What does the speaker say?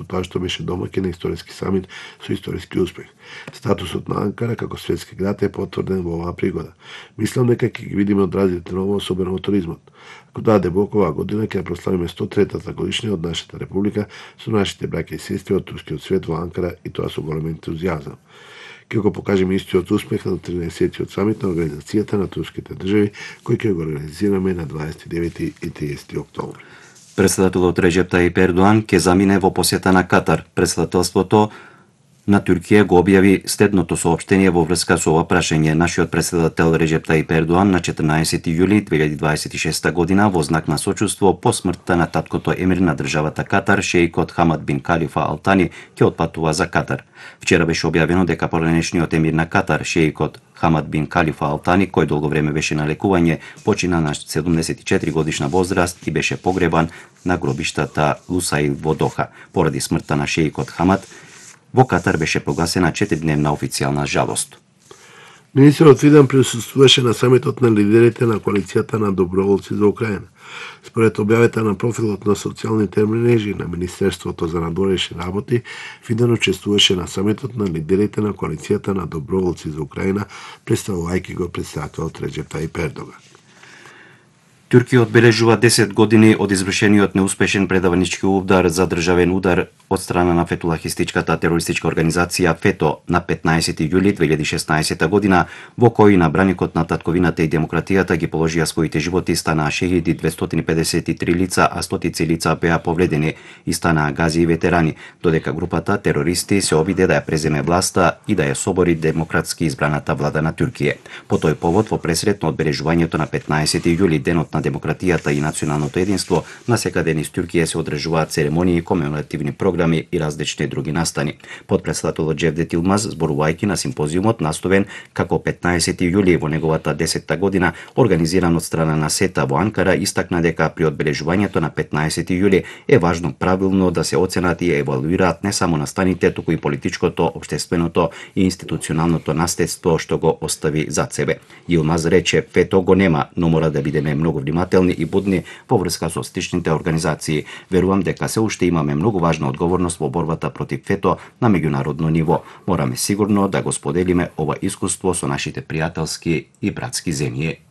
тоа што беше домаќин на историски самит со историски успех. Статусот на Анкара како светски град е потврден во оваа пригода. Мислам дека ќе ги видиме одразите на ова, особено во туризмот. Ако даде Бог, оваа година ќе прославиме 103-та годишнина од нашата република со нашите браќа и сестри од турскиот свет во Анкара, и тоа со голем ентузијазам. Ќе го покажеме истиот успех на 13-тиот самит на Организацијата на турските држави, кој ќе го организираме на 29 и 30 октомври. Председателот Реджеп Тајип Ердоан ќе замине во посета на Катар. Председателството на Туркија го објави следното соопштение во врска со ова прашање. Нашиот председател Реджеп Тајип Ердоан на 14 јули 2026 година во знак на сочувство по смртта на таткото емир на државата Катар, шеикот Хамад бин Калифа Ал Тани, ќе отпатува за Катар. Вчера беше објавено дека поранешниот емир на Катар, шеикот Хамад бин Калифа Ал Тани, кој долго време беше на лекување, почина на 74 годишна возраст и беше погребан на гробиштата Лусаил во Доха. Поради смртта на шеикот Хамад, во Катар беше прогласена 4-дневна официјална жалост. Министерот Фидан присуствуваше на самитот на лидерите на коалицијата на доброволци за Украина. Според објавата на профилот на социјалните мрежи на Министерството за надворешни работи, Фидан учествуваше на самитот на лидерите на коалицијата на доброволци за Украина, представувајќи го председателот Реджеп Тајип Ердоган. Туркија одбележува 10 години од извршениот неуспешен предавнички удар за државен удар од страна на фетулахистичката терористичка организација ФЕТО на 15 јули 2016 година, во кој на браникот на татковината и демократијата ги положија своите животи, станаа шејиди 253 лица, а стотици лица беа повредени и станаа гази и ветерани, додека групата терористи се обиде да ја преземе власта и да ја собори демократски избраната влада на Туркија. По тој повод, во пресрет на одбележувањето на 15 јули, денот на демократијата и националното единство, насекаде низ Туркија се одржуваат церемонии, комеморативни програми и различни други настани. Подпредседателот Джевдет Илмаз, зборувајќи на симпозиумот наставен како 15 јули во неговата 10-та година, организиран од страна на СЕТА во Анкара, истакна дека при одбележувањето на 15 јули е важно правилно да се оценат и евалуираат не само настаните, туку и политичкото, општественото и институционалното наследство што го остави зад себе. Илмаз рече, ФЕТО го нема, но мора да бидеме многу внимателни и будни во врска со сличните организации. Верувам дека се уште имаме многу важна одговорност во борбата против ФЕТО на меѓународно ниво. Мораме сигурно да го споделиме ова искуство со нашите пријателски и братски земји.